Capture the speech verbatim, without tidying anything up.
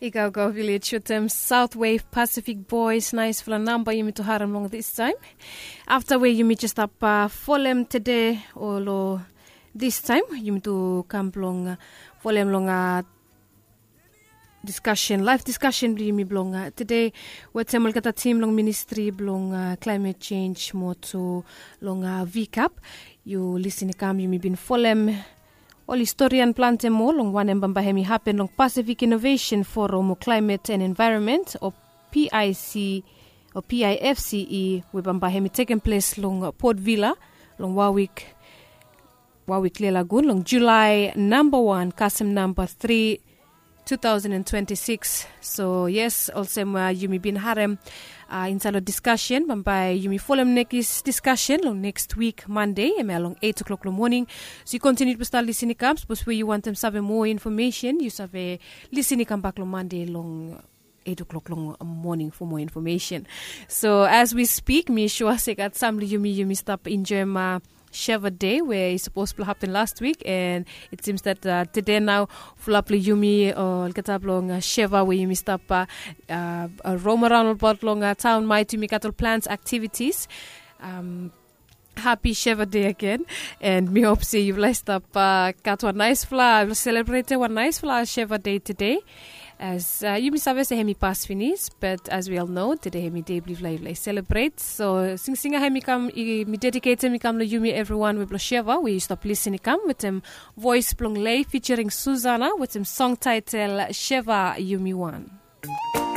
I gaugau vilej wetem South Wave Pacific Boys, naispela namba yumi tu harem long this taim. Afta we yumi jes stap folem tede o lo this taim yumi tu kam blong folem long diskasen, laif diskasen blong yumi blong tede wetem olgeta tim long ministri blong klaimet jenj mo tu long vikap. Yu lisin i kam yumi bin folem ol historian plante moa long wanem bambae hem i hapen long Pacific Innovation Forum o Climate and Environment o PIC o PIFCE we bambae hem i tekem ples long Port Vila long wan wik, wan wik klia lagun long Julai namba wan kasem namba tri, two thousand and twenty-six. So yes, olsem uh, yumi bin harem uh, inside lo discussion bambae yumi folem nekis discussion long next week Monday, em ya long eight o'clock long morning. So yu kontinu tu start lisin i kam, sapos we yu wantem save moa information yu save lisin i kam bak long Monday long eight o'clock long morning for more information. So as we speak, mi sure se gat sam lo yumi yumi stap enjoy ma Sheva Day we i sapos blong happen last week, and it seems that uh, tede nao fulap lo yumi olgeta blong uh, Sheva we yumi stap uh, uh, uh, roam around about long uh, town might yumi gat ol plans activities. Um, happy Sheva Day again, and mi hop se yufala i stap uh, gat wan naispela, yufala selebrete wan naispela Sheva Day tede. As uh, yumi save se hem i pas finis, but as we all know, tede hem i dei blong yufala yufala i selebret. So singsinga hem i kam, mi dediketem i kam long yumi evriwan we blong Sheva we yu stap lisin i kam wetem voes blong Lei featuring Susana wetem song title Sheva Yumi Wan.